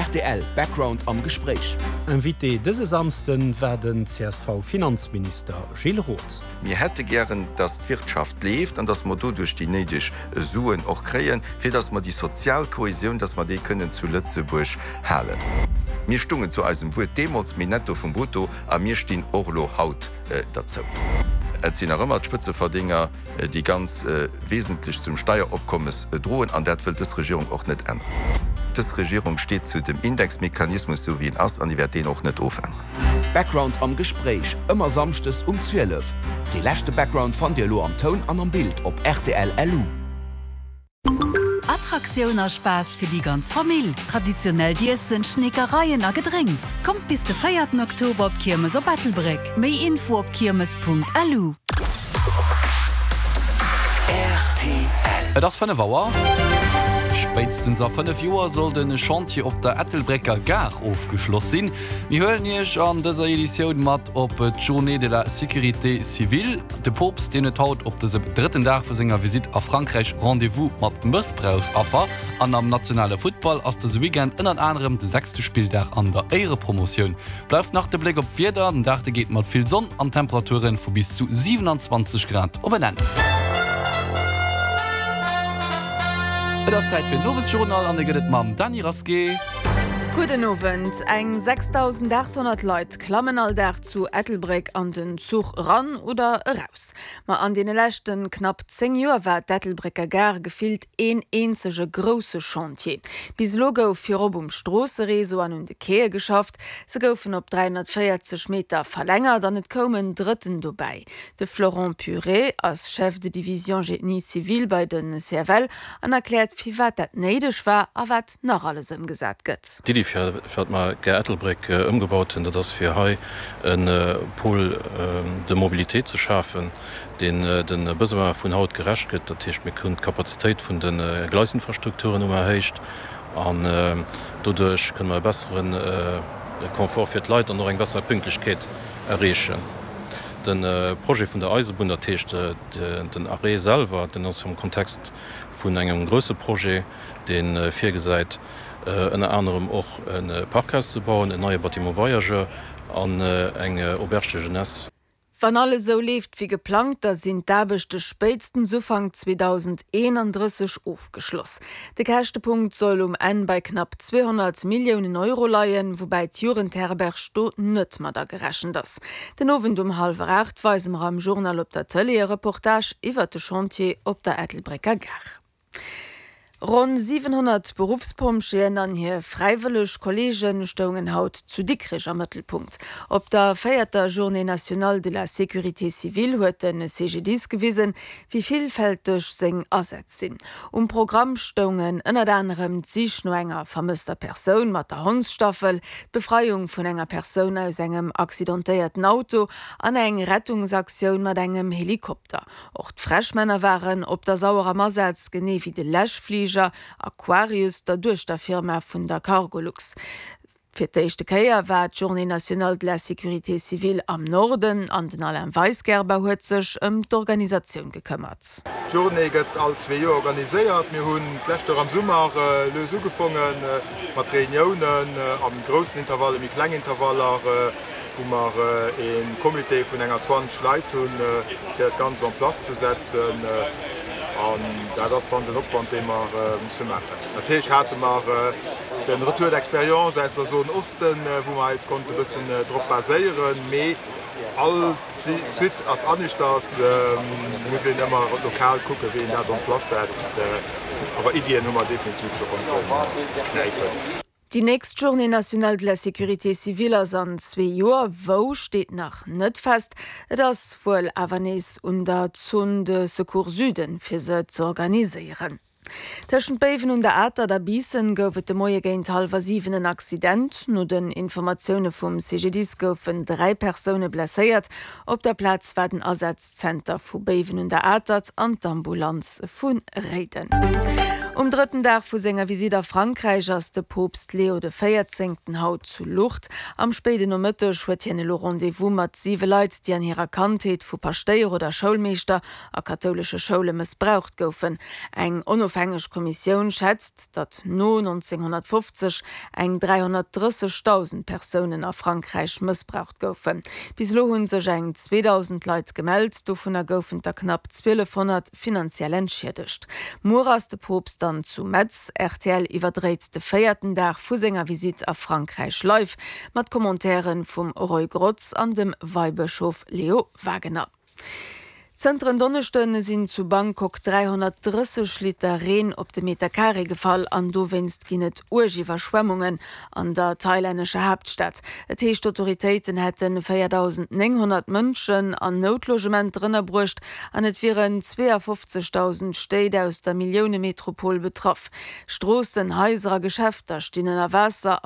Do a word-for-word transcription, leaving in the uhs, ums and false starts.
Rtl Background am Gespréich. Invité dëse Samschden war den C S V-Finanzminister Gilles Roth. Mir hätte gären, dass d'Wirtschaft leeft an dass mer doduerch déi néideg Suen och kréien, fir dass mer déi sozial Kohäsioun, dass mer déi kënnen zu Lëtzebuerg halen. Mir stungen zu eisem Wuert deemools, méi Netto vum Brutto, a mir stinn och elo haut äh, dozou. Et sinn nach ëmmer d'Spëtzeverdénger, äh, déi ganz äh, wesentlech zum Steieropkommes äh, droen, an dat wëllt dës Regierung och net änneren. Dës Regierung steet zu dem Indexmechanismus, sou wéi en ass, an déi wäert deen och net ofänneren. Background am Gespréich ëmmer samschdes um zwielef. De leschte Background fannt dir elo am Toun an am Bild op R T L L U. Attraktioun a Spaass fir déi ganz Famill. Traditionellt Iessen, Schneekereien a Gedrénks. Kommt bis de véierten Oktober op Kiermes op Ettelbréck. Méi Info op kiermes Punkt L U. R T L. Et ass fënnef Auer. Spéitstens a fënnef Joer soll de Chantier op der Ettelbrécker Gare ofgeschloss sinn. Mir huelen iech an dëser Editioun mat op d'Journée de la Sécurité civile. De Poopst deen huet haut op dësem drëtten Dag vu senger Visitt a Frankräich Rendez-vous mat Mëssbrauchsaffer. An am nationale Futtball ass dëse Weekend ënnert anerem de sechste Spilldag an der Éierepromotioun. Bleift nach de Bléck op d'Wieder, den Dag geet mat vill Sonn an Temperature vu bis zu siewenundzwanzeg Grad op en Enn. Et ass Zäit fir den Owesjournal an dee gëtt et mam Dany Rasqué. Gudden Owend. Eng sechsdausendaathonnert Leit klammen all Dag zu Ettelbréck an den Zuch eran oder eraus. Ma an deene leschten knapp zéng Joer war d'Ettelbrécker Gare gefillt een eenzege grousse Chantier. Bis elo gouf virop um Stroosseréseau an un de Quaie geschafft. Se goufen op dräihonnertvéierzeg Meter verlängert an et koum en drëtten dobäi. De Florent Puré ass Chef de Division Génie Civil bei de C F L an erkläert, firwat dat néideg war a wat nach alles ëmgesat gëtt. D'Iddi fir fir mer Gare Ettelbréck äh, ëmgebaut hunn, dat ass fir hei en äh, Pôle äh, de Mobilité ze schafen, deen äh, de Besoine vun haut gerecht gëtt. Dat heescht, mir kënnen d'Kapazitéit vun de äh, Gleisinfrastrukturen hu mer erhéicht an äh, doduerch kënne mer e besseren äh, Confort fir d'Leit an och eng besser Pünktlechkeet erreechen. Den äh, Projet vun der Eisebunn, dat heescht äh, den Arrêt selwer, deen ass am Kontext vun engem grousse Projet, deen äh, virgesäit, äh, ënner anerem och e äh, Parkhaus ze bauen, en neie Bâtiment voyageurs an äh, eng äh, Auberge de jeunesse. Wann alles sou leeft wéi geplangt, da sinn d'Aarbechte spéitstens Ufank zweedausendeenandrësseg ofgeschloss. De Käschtepunkt soll um Enn bei knapp zweehonnert Milliounen Euro leien, woubäi d'Jugendherberg do net mat agerechent ass. Den Owend um hallwer aacht weise mer am Journal op der Tëlee e Reportage iwwer de Chantier op der Ettelbrécker Gare. Ronn siwenhonnert Beruffspompjeeën an hir fräiwëlleg Kolleege stoungen haut zu Dikrech am Mëttelpunkt. Op der véierter Journée nationale de la sécurité civile huet de C G D I S gewisen, wéi villfälteg seng Asätz sinn. Um Programm stoungen ënnert anerem d'Sich no enger vermësster Persoun mat der Hondsstaffel, d'Befreiung vun enger Persoun aus engem accidentéierten Auto an eng Rettungsaktioun mat engem Helikopter. Och d'Fräschmänner waren op der Sauer am Asaz, genee wéi de Läschfliger Aquarius, der Duechterfirma vun der Cargolux. Fir d'éischte Kéier war d'Journée nationale de la sécurité civile am Norden an den Alain Weisgerber huet sech ëm d'Organisatioun gekëmmert. D'Journée gëtt all zwee Joer organiséiert. Mir hunn d'lescht Joer am Summer äh, lues ugefaangen äh, mat Reuniounen äh, am groussen Intervall, méi klengen Intervaller, äh, wou mer äh, e Comité vun enger zwanzeg Leit hunn, äh, fir dat Ganzt en place ze setzen. Äh, an dat ass dann den Opwand, dee mer äh, musse maachen. Natierlech hate mer äh, den Retour d'expérience aus der Zone Osten, äh, wou mer eis konnte bëssen äh, drop baséieren, mee all Site ass aneschters, äh, muss een ëmmer lokal kucken, wéi een dat en place setzt. Äh, awer Iddien hu mer definitiv scho konnte knäipen. Déi nächst Journée nationale de la sécurité civile ass an zwee Joer, wou steet nach net fest. Et ass wuel awer nees un der Zone de Secours Süden fir se ze organiséieren. Tëschent Béiwen un der Atert a Biissen gouf et de Moie géint hallwer siwen en Accident. No den Informatioune vum C G D I S goufen dräi Persoune blesséiert. Op der Plaz war den Asazzenter vu Béiwen un der Atert an d'Ambulanz vu Réiden. Um drëtten Dag vu senger Visitt a Frankräich ass de Poopst Leo de Véierzéngten haut zu Lourdes. Am spéiden Nomëtteg huet hien elo Rendez-vous mat siwe Leit, déi an hirer Kandheet vu Paschtéier oder Schoulmeeschter a kathoulesche Schoule mëssbraucht goufen. Eng onofhängeg Kommissioun schätzt, datt no nonzénghonnertfofzeg eng dräihonnertdrëssegdausend Persounen a Frankräich mëssbraucht goufen. Bis elo hu sech eng zweedausend Leit gemellt, dovunner goufen der knapp zwielefhonnert finanziell entschiedegt. Muer ass de Poopst dann zu Metz. Rtl iwwerdréit de véierten Dag vu senger Visitt a Frankräich live, mat Commentairen vum Roy Grotz an dem Weibëschof Leo Wagener. Zënter en Donneschde sinn zu Bangkok dräihonnertdrësseg Liter Reen op de Meter Carré gefall an dowéinst ginn et uerg Iwwerschwemmungen an der thailännescher Haaptstad. Et heescht, d'Autoritéiten hätte véierdausendnénghonnert Mënschen an Noutlogementer ënnerbruecht an et wieren zweeafofzegdausend Stéit aus der Milliounemetropol betraff. Stroossen, Haiser a Geschäfter stinn ënner Waasser.